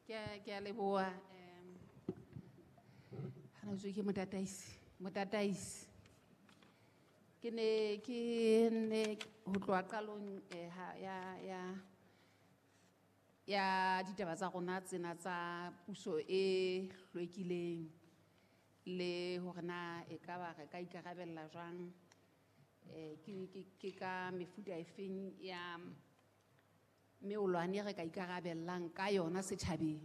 Ke a leboha hana jwale ke motataisi. Ke ne ke ne ho tloha qalong ha ya ditaba tsa rona tsena tsa puso e hlwekileng le hore na e ka ba re ka ikarabella jwang ke ka mefuta efeng ya meolwane re ka ikarabellang ka yona setjhabeng.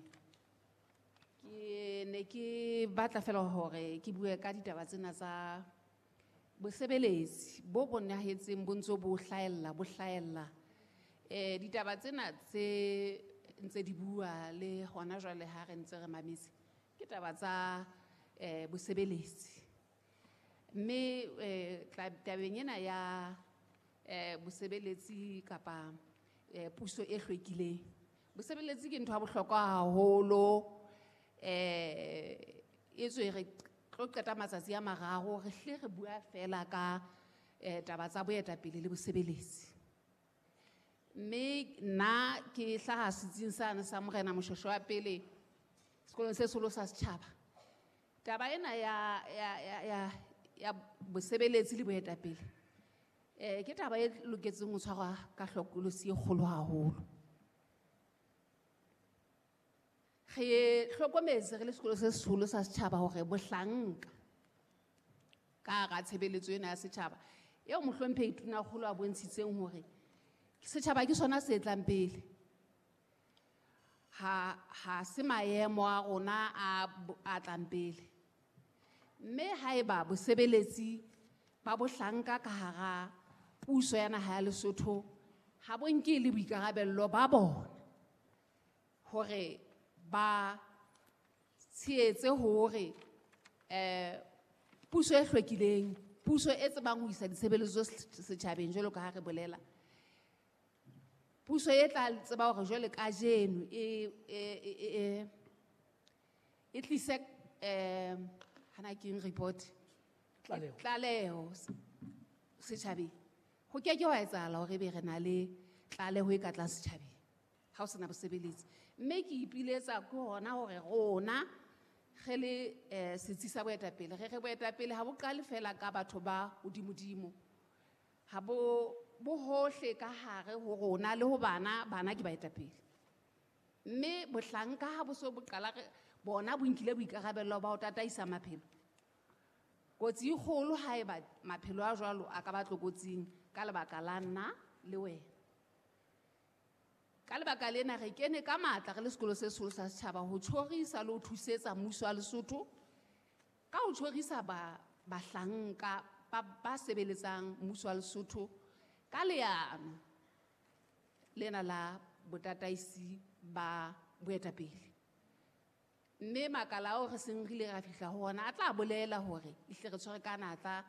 Ke ne ke batla fela hore ke bue ka ditaba tsena tsa bosebeletsi bo bonahetseng bo ntso bo hlahella, bo hlahella. Ditaba tsena tse ntse di bua le hona jwale ha re ntse re mametse ke taba tsa bosebeletsi. Mme tabeng ena ya bosebeletsi kapa puso e hlwekileng. Bosebeletsi ke ntho ya bohlokwa haholo. Etswe re tlo qeta matsatsi a mararo re hle re bua fela ka taba tsa boetapele le bosebeletsi. Mme nna ke hlaha setsing sane sa Morena Moshoeshoe wa pele sekolong se seholo sa setjhaba. Taba ena ya bosebeletsi le boetapele ke taba e loketseng ho tshwarwa ka hlokolosi e kgolo haholo. Re hlokometse re le sekolo se seholo sa setjhaba hore bohlanka ka hara tshebeletso ena ya setjhaba eo mohlomphehi Tonakgolo a bontshitseng hore setjhaba ke sona se tlang pele. Ha se maemo a rona a tlang pele. Mme haeba bosebeletsi ba bohlanka ka hara puso ya naha ya Lesotho ha bo nke le boikarabello ba bona hore ba tshehetse hore puso e hlwekileng, puso e tsebang ho isa ditshebeletso setjhabeng jwalo ka ha re bolela, puso e tla tseba hore jwale kajeno e tlise hana ke eng report? Tlaleho. Tlaleho setjhabeng. Ho ke ke hwa etsahala hore ebe re na le tlaleho e ka tlang setjhabeng ha o sena bosebeletsi. Mme ke ipiletsa ke hona hore rona re le setsi sa boetapele, re re boetapele ha bo qale fela ka batho ba hodimodimo. Ha bo hohle ka hare ho rona le ho bana, bana ke baetapele. Mme bohlanka ha bo so bo qala re bona bo nkile boikarabello ba ho tataisa maphelo. Kotsi e kgolo haeba maphelo a jwalo a ka ba tlokotsing ka lebaka la nna le wena. Ka lebaka lena re kene ka matla re le sekolo se seholo sa setjhaba ho tjhorisa le ho thusetsa mmuso wa Lesotho ka ho tjhorisa bahlanka ba sebeletsang mmuso wa Lesotho ka leano lena la botataisi ba boetapele. Mme makala ao re seng re ile ra fihla ho ona a tla bolela hore ehlile re tshwere ka natla,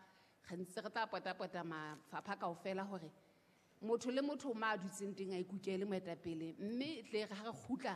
re ntse re tla potapota mafapha kaofela hore motho le motho ma a dutseng teng a ikukele moetapele, mme e tle re ha re kgutla